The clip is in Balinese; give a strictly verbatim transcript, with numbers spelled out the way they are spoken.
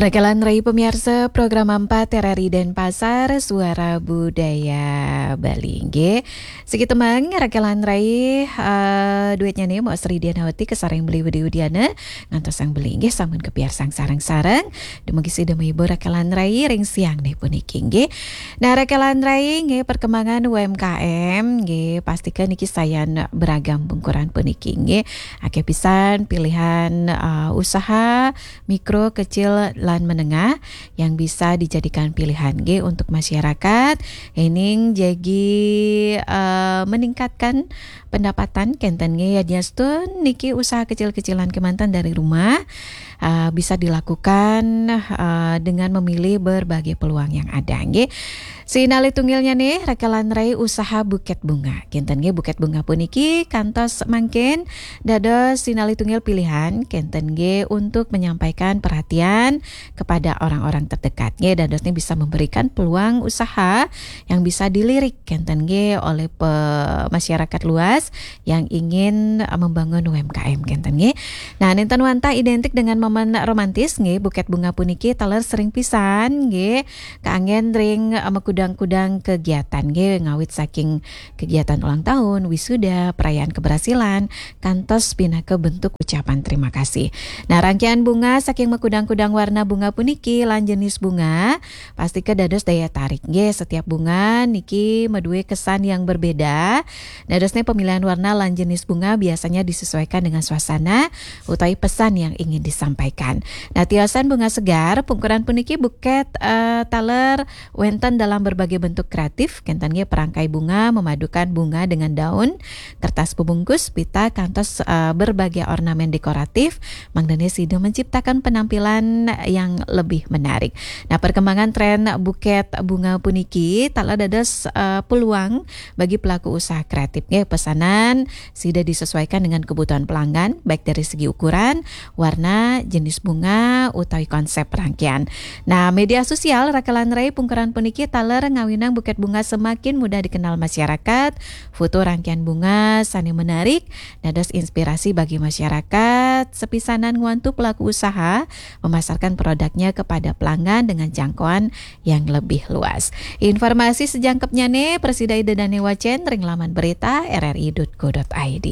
Rakelan rai pamiarsa program empat R R I Denpasar, Suara Budaya Bali. Nggih. Siki tembang Rakelan rai, eh, duetnya nih, Mbok Sri Dianawati kasareng Beli Widi Widiana, ngantos Sang Beli nggih sampun kapiarsang sareng-sareng. Dumugi sida mahibur Rakelan rai ring siang nih puniki nggih. Nah, Rakelan rai nggih, perkembangan U M K M nggih, pastika niki sayan beragam pungkuran puniki nggih. Akeh pisan pilihan, eh, usaha mikro, kecil, lan menengah yang bisa dijadikan pilihan nggih untuk masyarakat. Ening jagi, eh, meningkatkan pendapatan kenten nggih, yadiastun niki usaha kecil-kecilan kemanten dari rumah, eh, bisa dilakukan, eh, dengan memilih berbagai peluang yang ada nggih. Sinalih tunggilnya nih, Rakelan rai usaha buket bunga. Kenten nggih, buket bunga puniki kantos mangkin dados sinalih tunggil pilihan kenten nggih untuk menyampaikan perhatian kepada orang-orang terdekat nggih, dados nih bisa memberikan peluang usaha yang bisa dilirik kenten nggih oleh pe-, masyarakat luas yang ingin, eh, membangun U M K M kenten nggih. Nah, nenten wantah identik dengan momen romantis nggih, buket bunga puniki taler sering pisan nggih kaanggen ring, eh, makudang-kudang kegiatan nggih, ngawit saking kegiatan ulang tahun, wisuda, perayaan keberhasilan, kantos pinaka bentuk ucapan terima kasih. Nah, rangkaian bunga saking makudang-kudang warna bunga puniki lan jenis bunga pastika dados daya tarik nggih. Setiap bunga niki madue kesan yang berbeda. Dadosne pemilihan warna lan jenis bunga biasanya disesuaikan dengan suasana utawi pesan yang ingin disampaikan. Nah, tiosan bunga segar, pungkuran puniki buket, eh, taler wenten dalam berbagai bentuk kreatif, kenten nggih perangkai bunga memadukan bunga dengan daun, kertas pembungkus, pita, kantos, eh, berbagai ornamen dekoratif, mangdane sida menciptakan penampilan yang lebih menarik. Nah, perkembangan tren buket bunga puniki taler dados, eh, peluang bagi pelaku usaha kreatif nggih, pesanan sida disesuaikan dengan kebutuhan pelanggan, baik dari segi ukuran, warna, jenis bunga, utawi konsep rangkaian. Nah, media sosial Rakelan rai pungkuran puniki taler ngawinang buket bunga semakin mudah dikenal masyarakat, foto rangkaian bunga sane menarik, dados inspirasi bagi masyarakat, sepisanan ngwantu pelaku usaha memasarkan produknya kepada pelanggan dengan jangkauan yang lebih luas. Informasi sejangkepnyane prasida ida dane wacen ring laman berita R R I dot co dot I D.